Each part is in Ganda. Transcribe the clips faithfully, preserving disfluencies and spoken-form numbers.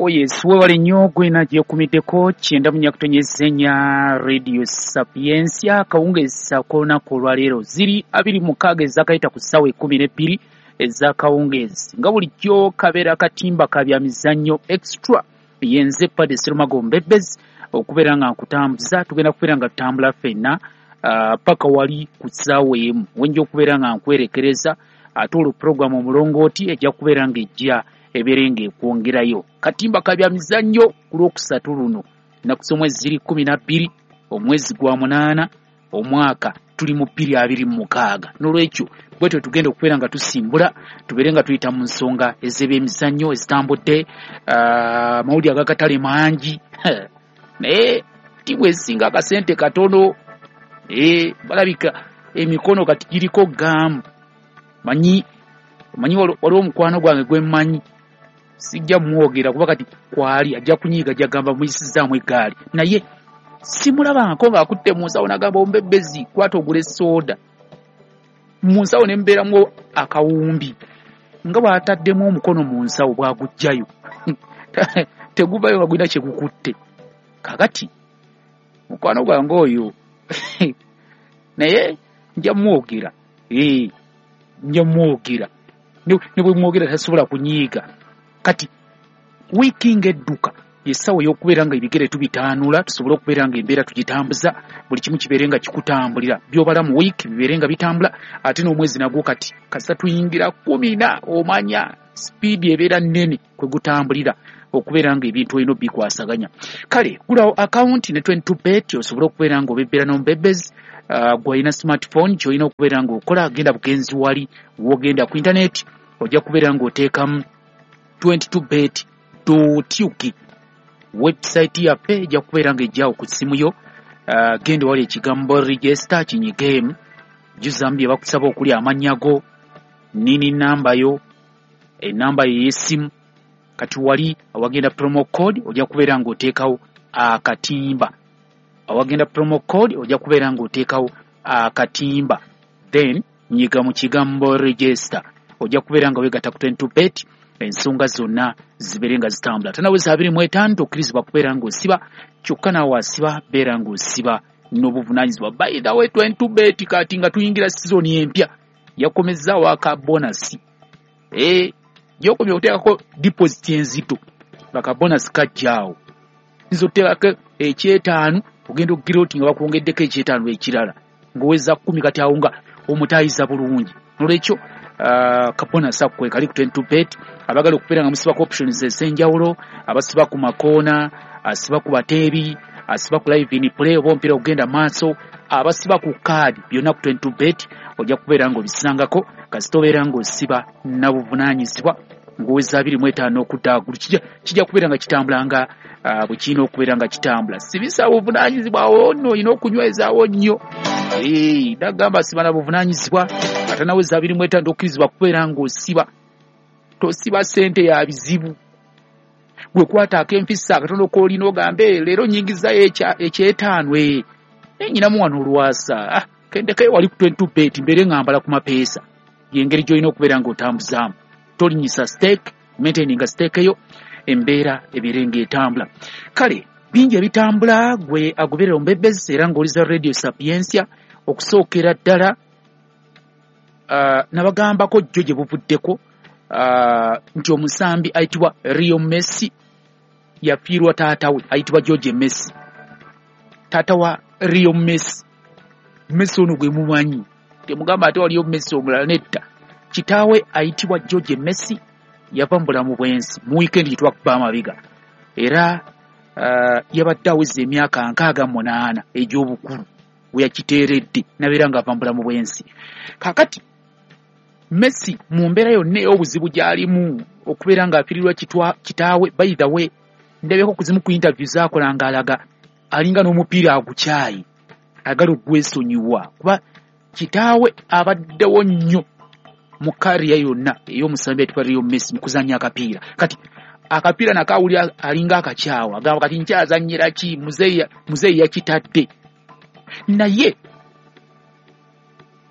Yes, webale nnyo gwena gyekumiddeko kyenda munyakutonyeza enya Radio Sapientia. Akawungeezi ak'olunaku olwaleero ziri abiri mukaaga ezakayita ku ssaawa ekkumi n'ebbiri ez'akawungeezi, nga bulijjo kabeera katimba ka bya mizannyo extra. Yenze Pade Serumago Mbebezi okubeera nga nkutambuza. Tugenda kubeera nga tutambula ffenna uh, paka wali ku ssaawa emu wenja okubeera nga nkwerekereza, ate olwo puroguramu omulongooti ejja kubeera ng'ejja ebeere ng'ekwongerayo. Katimba ka bya mizannyo ku lwokusatu luno, ennaku z'omwezi ziri kkumi na bbiri omwezi gwa munaana omwaka tuli mu bbiri abiri mu mukaaga. N'olwekyo bwetyo tugenda okubeera nga tusimbula, tubeere nga tuyita mu nsonga ez'ebyemizannyo ezitambudde, amawulire uh, ag'akatale mangi naye ttiimu ezisinga akasente katono, eh, balabika emikono kati giriko gaamu. Manyi manyi waliwo omukwano gwange gwe mmanyi, sijja mwogera kuba kati kwali ajja kunyiiga, ajja gamba muyisizaamu eggaali, naye simulabangako ng'akutte mu nsawo n'agamba ombebezi kwata ogule sooda. Mu nsawo ne mbeeramu akawumbi nga bw'ataddemu omukono mu nsawo bw'aguggyayo teguvayo nga gulina kye gukutte. Kaakati mukwano gwange oyo naye nja mwogera, ee nja mwogera, ne bwe mwogera tasobola kunyiiga. Kati wiiki ng'edduka essaawa ey'okubeera nga ebigere tubitaanula, tusobole okubeera nga embeera tugitambuza, buli kimu kibeere nga kikutambulira, by'obala mu wiiki bibeere nga bitambula, ate n'omwezi nagwo kati kasita tuyingira kkumi na omanya sipiidi ebeera nnene kwe gutambulira okubeera nga ebintu olina obikwasaganya. Kale gulawo akawunti ne twenty two bet osobole okubeera nga obebbera n'omubebezi. Uh, gw'olina smartphone ky'olina okubeera ng'okola, genda bugenzi wali w'ogenda ku intaneti ojja kubeera ng'oteekamu twenty two bet dot U K. Website yaffe ejja kubeera ng'ejjawo ku ssimu yo. Uh, genda wali ekigambo register kinyigeemu, jjuzaamu bye bakusaba okuli amannya go, nini namba yo, enamba yo ey'essimu. Kati wali awagenda promo code ojja kubeera ng'oteekawo akatimba, awagenda promo code ojja kubeera ng'oteekawo akatimba, then nyiga mu kigambo register, ojja kubeera nga weegatta ku twenty two bet, ensonga zonna zibeere nga zitambula. Tanaweza abiri mu etaano tokkirizibwa kubeera ng'osiba, kyokka naawe asiba beera ng'osiba n'obuvunaanyizibwa. By the way, twenty two bet kati nga tuyingira sizoni empya yakomezzaawo aka bonasi, eh, gy'okomye okuteekako deposit enzito nga ka bonasi kajjaawo, oyinza okuteekako ekyetaano ogenda okugira oti nga bakwongeddeko ekyetaano ekirala ng'oweza kkumi, kati awo nga omutaayiza bulungi. N'olwekyo uh, ka bonasi ako kwe kali ku twenty two bet. Abaagala okubeera nga musibako options ez'enjawulo, abasiba ku makoona, asiba ku bateebi, asiba ku live in play oba omupiira ogenda maaso, abasiba ku kaadi, byonna ku twenty two bet ojja kubeera ng'obisangako kasita obeera ng'osiba na buvunaanyizibwa ng'oweza abiri mu etaano okudda waggulu. Kijja kijja kubeera nga kitambula nga uh, bwe kirina okubeera nga kitambula. Sibisa buvunaanyizibwa awo nno olina okunywezaawo nnyo. Ee, nagamba siba na buvunaanyizibwa ate naweza abiri mu etaano tokkirizibwa kubeera ng'osiba. Tosiba ssente ya bizibu. Gwe kwata ak'empisa akatono k'olina ogambe leero nnyingizaayo ekyetaano, ee naye nnyinamu wano olwasa, ah, kendekayo wali ku twenty two bet mbeere nga mbala ku mapeesa. Y'engeri gy'olina okubeera ng'otambuzaamu. Tolinnyisa stake, maintaininga stake yo, embeera ebeere ng'etambula. Kale bingi ebitambula gwe agoberera omubebezi era ng'oliza Radio Sapientia. Okusookera ddala uh, nabagambako jjo gye buvuddeko uh, nti omusambi ayitibwa Lionel Messi yafiirwa taata we ayitibwa Jorge Messi. Taata wa Lionel Messi, Messi ono gwe mumanyi, temugamba ate waliyo Messi omulala, nedda. Kitaawe ayitibwa Jorge Messi yava mu bulamu bw'ensi mu wiikendi gye twakuba amabega, era uh, yabadde aweza emyaka nkaaga munaana egy'obukulu we yakiteeredde n'abeera ng'ava mu bulamu bw'ensi. Kaakati Messi mu mbeera yonna ey'obuzibu gy'alimu okubeera ng'afiirirwa kitaawe, by the way ndabyeko ku zimu ku interview z'akola ng'alaga alinga n'omupiira agukyayi, ayagala ogwesonyiwa kuba kitaawe abaddewo nnyo mu kariya yonna ey'omusambi ayitibwa Lionel Messi mu kuzannya akapiira. Kati akapiira nako awulira alinga akakyawa, agamba kati nkyazannyira ki, muzeeyi yakitadde. Naye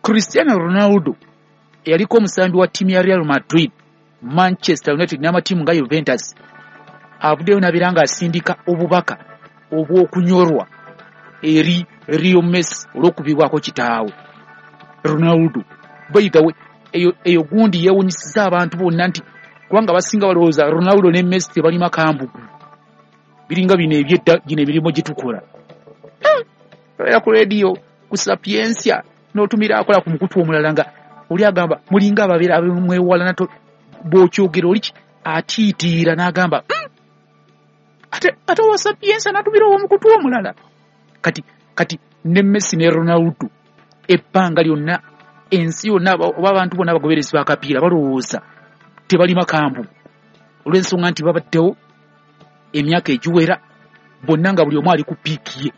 Cristiano Ronaldo eyaliko omusambi wa ttiimu ya Real Madrid, Manchester United n'amatiimu nga Juventus Avuddeyo n'abeera ng'asindika obubaka obw'okunyorwa eri Leo Messi olw'okubibwako kitaawe Ronaldo. By the way, eyo, eyo gundi yeewunyisiza abantu bonna nti kubanga abasinga balowooza Ronaldo ne Messi tebalima kambugu, biringa bino ebyedda, gino emirimu gye tukola. Era ku rediyo ku Sapientia n'otumira akola ku mukutu omulala nga oli agamba mulinga ababeera abamwewala nato, bw'okyogera oli atiitiira n'agamba mm! ate ate owa Sapientia n'atumira ow'omukutu omulala. Kati kati ne Messi ne Ronaldo ebbanga lyonna ensi yonna oba abantu bonna abagoberezi b'akapiira balowooza tebalima kambu olw'ensonga nti babaddewo emyaka egiwera bonna nga buli omu ali ku piiki ye,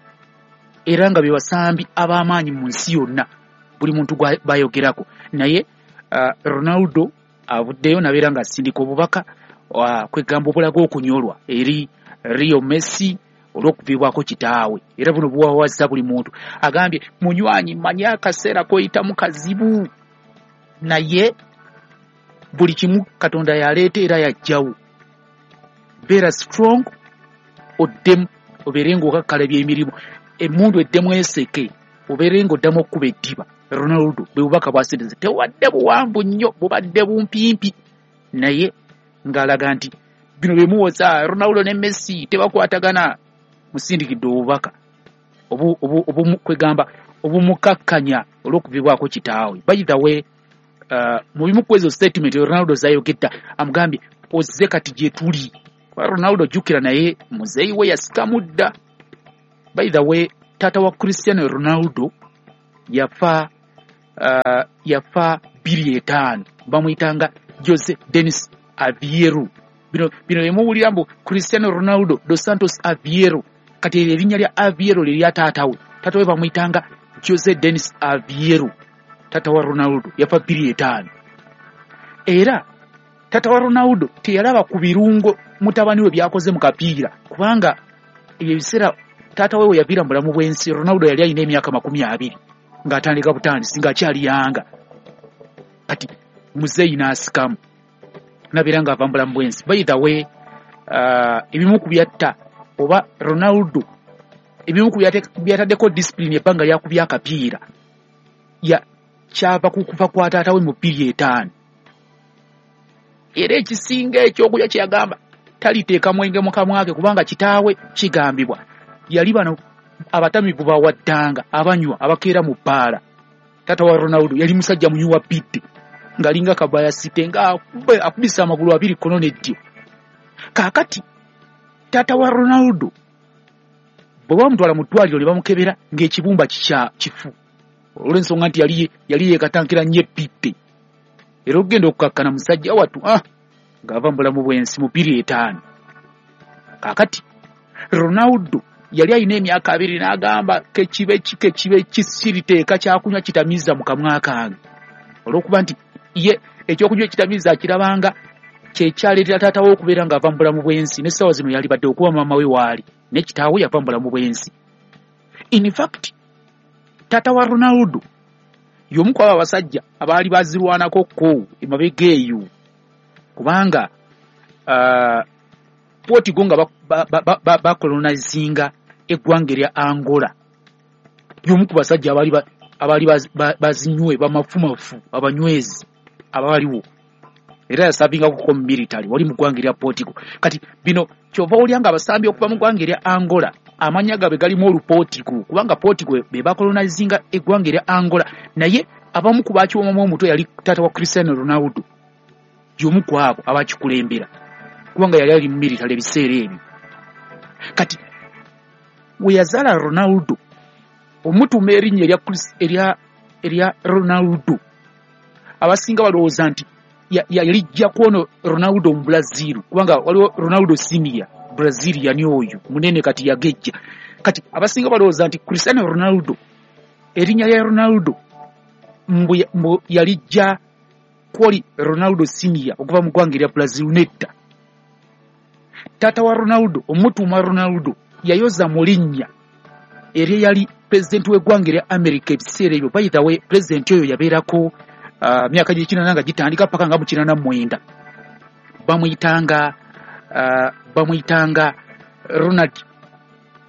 era nga be basambi ab'amaanyi mu nsi yonna buli muntu bayogerako. Naye uh, Ronaldo avuddeyo n'abeera ng'asindika obubaka uh, kwegamba obulaga okunyolwa eri Leo Messi olw'okuviibwako kitaawe, era buno buwawaza buli muntu. Agambye munywanyi, mmanyi akaseera k'oyitamu kazibu, naye buli kimu Katonda yaleeta era yajjawo. Beera strong, oddemu obeere ng'okakkalabya emirimu, emmundu eddemu eseke, obeere ng'oddamu okkuba eddiba. Ronaldo bwe bubaka bw'asindise, tewadde buwanvu nnyo, bubadde bumpimpi, naye ng'alaga nti bino bye muwoza Ronaldo ne Messi tebakwatagana. Musindikidde obubaka kwegamba obumukakkanya olw'okuvibwako kitaawe. By the way, uh, mu bimu ku ezo statement Ronaldo zayogedda amugambye ozze kati gye tuli. Ronaldo jjukira naye muzeeyi we yasikamu dda. By the way, taata wa Cristiano Ronaldo yafa uh, yafa bbiri etaano, bamuyitanga Jose Denis Aveiro. Bino bino emuwulira mbu Cristiano Ronaldo dos Santos Aveiro, kati eryo erinnya lya Aveiro lye lya taata we. Taata we bamuyitanga Jose Denis Aveiro, taata wa Ronaldo yafa bbiri etaano. Era taata wa Ronaldo teyalaba ku birungo mutabani we byakoze mu kapiira, kubanga ebyo ebiseera taata we we yaviira mu bulamu bw'ensi Ronaldo yali alina emyaka makumi abiri ng'atandika butandisi ng'akyali yanga. Kati muzeeyi n'asikamu nabeera ng'ava mu bulamu bw'ensi. By the way, uh, ebimu ku byatta oba Ronaldo ebimu ku byataddeko discipline ebbanga lyakubya akapiira ya kyava ku kufa kwa taata we mu bbiri etaano. Era ekisinga ekyokulya kye yagamba taliteeka mwenge mu kamwa ke, kubanga kitaawe kigambibwa yali bano abatamivu bawaddanga abanywa abakeera mu bbaala. Taata wa Ronaldo yali musajja munywi wa bidde ng'alinga kabayasite nga akubisa amagulu abiri kkono n'eddyo. Kaakati taata wa Ronaldo bwe bamutwala mu ddwaliro ne bamukebera ng'ekibumba kikya kifu olw'ensonga nti yali yali yeekatankira nnyo ebbidde, era okugenda okukakkana musajja wattu ah ng'ava mu bulamu bw'ensi mu bbiri etaano. Kaakati Ronaldo yali alina emyaka abiri n'agamba kekibe ki kekibe kisiriteeka kyakunywa kitamiiza mu kamwa kange, olw'okuba nti ye ekyokunywa ekitamiiza akirabanga kyekyaleetera taata we okubeera ng'ava mu bulamu bw'ensi. N'essaawa zino yali badde okuba maama we waali, ne kitaawe yava mu bulamu bw'ensi. In fact, taata wa Ronaldo y'omu ku abo abasajja abaali bazirwanako ko emabega eyo, kubanga uh, Portugal nga bakolonizinga eggwanga erya Angola, y'omu ku basajja abaali abaali bazinywe bamafumafu abanywezi abaaliwo, era yasabingako mu military wali mu ggwanga erya Portugal. Kati bino kyova olya nga abasambi okuva mu ggwanga erya Angola amannya gaabwe galimu oluportugal, kubanga Portugal be bakolonizinga eggwanga erya Angola, naye abamu ku baakiwomamu omutwe yali taata wa Cristiano Ronaldo, y'omu ku abo abakikulembera, kubanga yali ali mu military ebiseera ebyo. Kati we yazaala Ronaldo omutuuma erinnya erya erya erya Ronaldo, abasinga balowooza nti yalijja kwono Ronaldo mu Brazil, kubanga waliwo Ronaldo senior Brazilian oyo munene kati yagejja. Kati abasinga balowooza nti Cristiano Ronaldo erinnya lya Ronaldo mbu yalijja kwoli Ronaldo senior okuva mu ggwanga erya Brazil. Nedda, taata wa Ronaldo omutuuma Ronaldo yayoza mu linnya erye yali pulezidenti w'eggwanga erya America ebiseera ebyo. By the way, pulezidenti oyo yabeerako uh, myaka gy'ekinana nga gitandika paka nga mu kinana mu mwenda. Bamuyitanga uh, Bamuyitanga Ronald,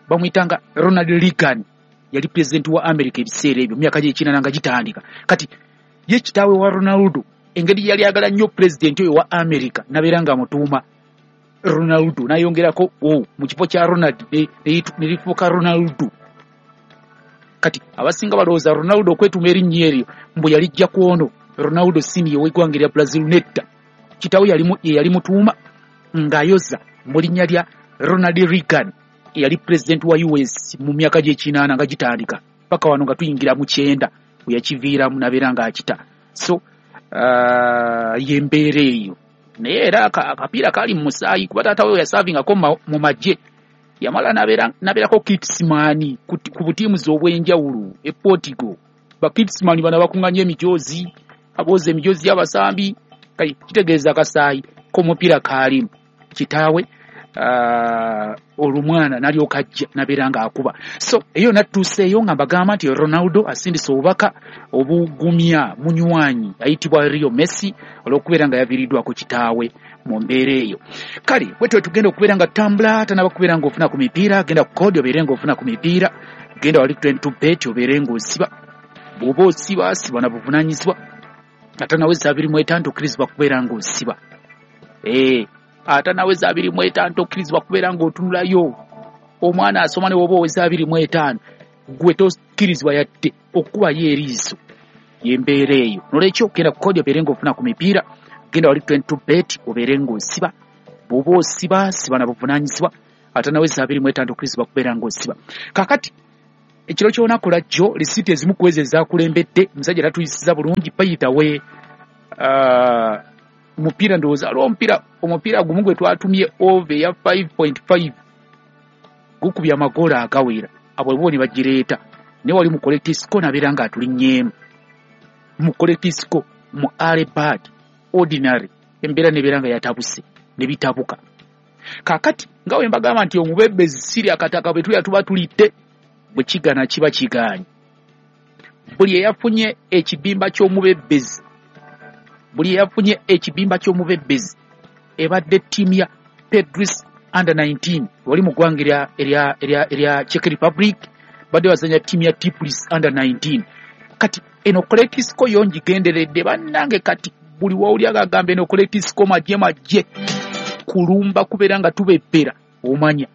bamuyitanga Ronald Reagan, yali pulezidenti wa America ebiseera ebyo myaka gy'ekinana nga gitandika. Kati ye kitaawe wa Ronaldo engeri yali ayagala nnyo pulezidenti oyo wa America nabeera nga amutuuma Ronaldo, nayongerako o mu kifo kya Ronald ne lifuuka Ronaldo. Kati abasinga balowooza Ronaldo okwetuuma erinnya eryo mbu yalijja ku ono Ronaldo senior ow'eggwanga erya Brazil. Nedda, kitaawe ye yali mutuuma ng'ayoza mu linnya lya Ronald Reagan eyali pulezidenti wa U S mu myaka gy'ekinaana nga gitandika paka wano nga tuyingira mu kyenda we yakiviiramu nabeera ng'akita. So uh, y'embeera eyo. Naye era akapiira kaali mu musaayi kuba taata we yasaavingako mu magye, yamala nabeerako kitsman ku butiimu obw'enjawulo e Portugal. Bakitsman bano abakuŋŋaanya emijoozi, abooza emijoozi y'abasambi, kale kitegeeza akasaayi k'omupiira kaalimu. Kitaawe uh, olumwana nalyoka ajja nabeera ng'akuba. So eyo natuuseeyo nga mbagamba nti Ronaldo asindise obubaka obugumya munywanyi ayitibwa Leo Messi olw'okubeera nga yaviiriddwako kitaawe mu mbeera eyo. Kale bwetyo tugenda okubeera nga tutambula, tanaba kubeera ng'ofuna ku mipiira, genda ku kodi obeere ng'ofuna ku mipiira, genda wali twenty-two bet obeere ng'osiba. Bw'oba osiba, siba na buvunaanyizibwa. Atanaweza abiri mu etaano tokkirizibwa kubeera ng'osiba. Eh, atanaweza abiri mu etaano tokkirizibwa kubeera ng'otunulayo. Omwana asoma ne bw'oba oweza abiri mu etaano gwe tokkirizibwa yadde okukubayo eriiso. Y'embeera eyo. Nolwekyo genda ku kodi obeere ng'ofuna ku mipiira, genda wali twenty-two bet obeere ng'osiba. Bw'oba osiba, siba na buvunaanyizibwa. Atanaweza abiri mu etaano tokkirizibwa kubeera ng'osiba. Kaakati ekiro ky'olunaku lwajjo lisiiti ezimu ku ezo ezaakulembedde omusajja tatuyisiza bulungi bayitawe uh, mupiira ndowooza aliwo omupiira omupiira gumu gwe twatumye over eya five point five gukubye amagoolo agawera, abo bo ne bagireeta. Naye wali mu collectisco nabeera ng'atulinnyeemu mu collectisco mu early bird ordinary embeera nebeera nga yatabuse ne bitabuka. Kaakati nga bwe mbagamba nti omubebezi siri akataka bwe tulya tuba tulidde, bwe kigana kiba kigaanyi. Buli eyafunye ekibimba ky'omubebezi, buli eyafunye ekibimba ky'omubebezi ebadde ttiimu ya Pedris under nineteen wali mu ggwanga erya erya erya erya Czech Republic, badde bazanya ttiimu ya Tiplis under nineteen. Kati eno collectisco yo ngigenderedde bannange. Kati buli wawuli agagamba eno collectisco magye magye kulumba kubeera nga tubebbera, omanya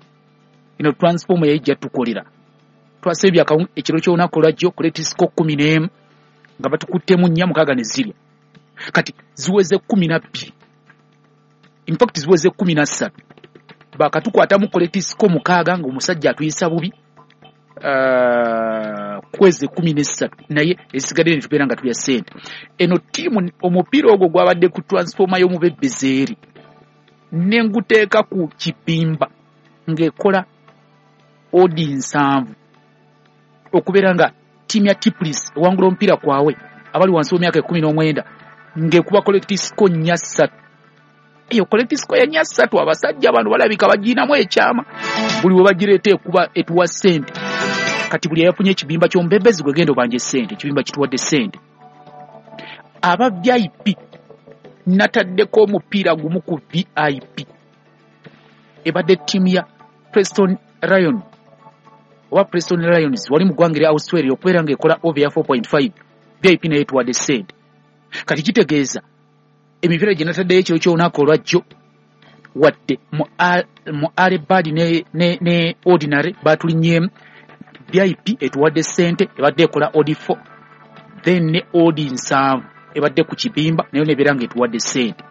eno transformer yayijja tukolera. Twasebye ekiro ky'olunaku olwajjo collectisco kkumi n'emu nga batukuttemu nnya mukaaga ne zirya. Kati ziweze kkumi na bbiri, in fact ziweze kkumi na ssatu. Bakatukwatamu collectisco mukaaga ng'omusajja atuyisa bubi uh, kweze kkumi n'essatu, naye esigadde ne tubeera nga tulya ssente. Eno ttiimu omupiira ogwo gwabadde ku transformer y'omubebezi eri ne nguteeka ku kibimba ng'ekola odi nsanvu okubeera nga ttiimu ya Tiplis ewangula omupiira kwawe abali wansi w'emyaka ekkumi n'omwenda ng'ekuba collectisco nnya ssatu. Eyo collectisco ya nnya ssatu abasajja bano balabika bagirinamu ekyama, buli we bagireeta ekuba etuwa ssente. Kati buli eyafunye ekibimba ky'omubebezi gwe genda obanje ssente, ekibimba kituwadde ssente. Aba V I P nataddeko omupiira gumu ku V I P ebadde ttiimu ya Preston Lion oba Preston Lions wali mu ggwanga erya Australia okubeera ng'ekola over ya four point five. V I P naye etuwadde ssente. Kati kitegeeza emipiira gye nataddeyo ekiro ky'olunaku olwajjo wadde mu early bird ne, ne, ne ordinary batulinnyeemu, V I P etuwadde ssente ebadde ekola odi four, then ne odi nsanvu ebadde ku kibimba nayo nebeera ng'etuwadde ssente.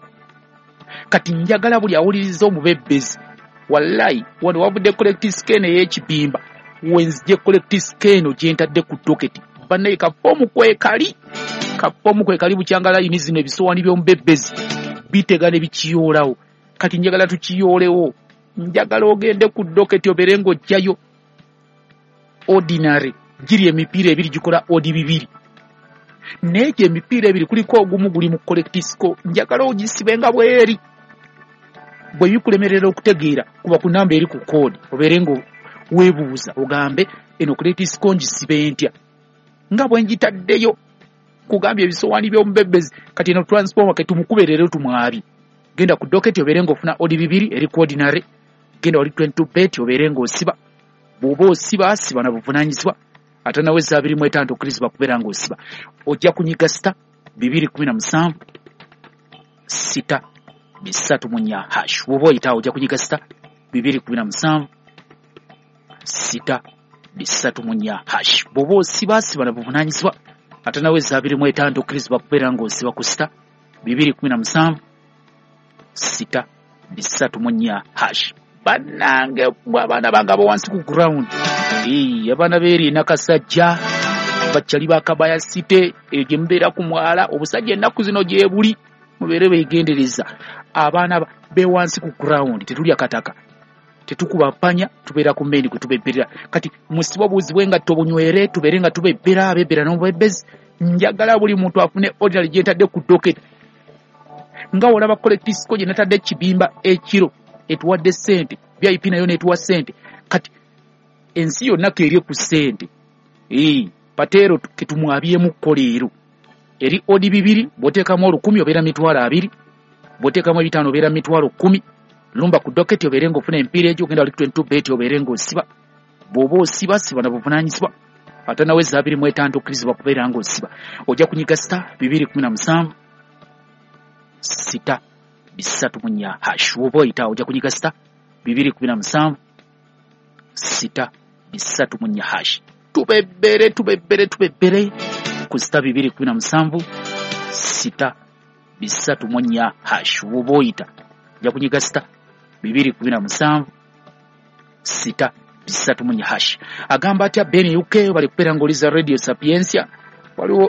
Kati njagala buli awuliriza omubebezi, wallayi wano wavudde collectisco eno ey'ekibimba, wenzije collectisco eno gye ntadde ku doketi. Bannaye kafoomu kwekali, kafoomu kwekali bukyanga layini zino ebisowaani by'omubebezi bitega ne bikiyoolawo. Kati njagala tukiyoolewo, njagala ogende ku doketi obeere ng'ojjayo ordinary giri emipiira ebiri gikola odi bibiri, naye gye emipiira ebiri kuliko ogumu guli mu collectisco, njagala ogisibe nga bweri. Bwe bikulemerera okutegeera kuba ku namba eri ku koodi obeere nga weebuuza ogambe eno collectisco ngisibe ntya nga bwe ngitaddeyo kugambye ebisowaani by'omubebezi. Kati eno transformer ke tumukube leero tumwabi. Genda ku doketi obeere ng'ofuna odi bibiri eri ku ordinary, Genda wali twenty-two bet obeere ng'osiba. Bw'oba osiba siba na buvunaanyizibwa, ate naweza abiri mu etaano tokkirizibwa kubeera ng'osiba. Ojja kunyiga sita bibiri kumi na musanvu sita bisatu mu nnya hash. Bw'oba oyitaawo ojja kunyiga sita bibiri kumi na musanvu sita bisatu mu nnya hash. Bw'oba osiba siba na buvunaanyizibwa, ate naweza abiri mu etaano tokkirizibwa kubeera ng'osiba ku sita bibiri kumi na musanvu sita bisatu mu nnya hash. Bannange abaana bange abo wansi ku ground, abaana beeri Nakasajja, bakyali ba Kabaya City, eyo gye mubeera ku mwala, obusajja ennaku zino gye buli, mubeere beegendereza. Abaana be wansi ku ground tetulya kataka, tetukuba mpanya, tubeera ku mmeeni kwe tubebbirira. Kati musibe obuuzibwe nga tobunywere, tubeere nga tubebbera, abebbera n'obubebbezi. Njagala buli muntu afune ordinary gye ntadde ku docket. Nga olaba collective gye natadde ekibimba ekiro etuwadde ssente, V I P nayo n'etuwa ssente. Kati ensi yonna keerye ku ssente. Ee, pateero ketumwabyemu kkoleero. Eri odi bibiri, bw'oteekamu olukumi obeera mitwalo abiri, bw'oteekamu ebitaano obeera mitwalo kkumi. Lumba ku docket obeere ng'ofuna emipiira egyo, ogenda wali twenty-two bet obeere ng'osiba. Bw'oba osiba siba na buvunaanyizibwa, ate naweza abiri mu etaano tokkirizibwa kubeera ng'osiba. Ojja kunyiga sita bibiri kumi na musanvu sita bisatu mu nnya hash. Bw'oba oyitaawo ojja kunyiga sita bibiri kumi na musanvu sita bisatu mu nnya hash. Tubebbere tubebbere tubebbere ku sita bibiri kumi na musanvu sita bisatu mu nnya hash. Bw'oba oyita ojja kunyiga sita bibiri kumi na musanvu sita bisatu mu nnya hash. Agamba atya Ben U K bali kubeera ng'oliza Radio Sapientia. Waliwo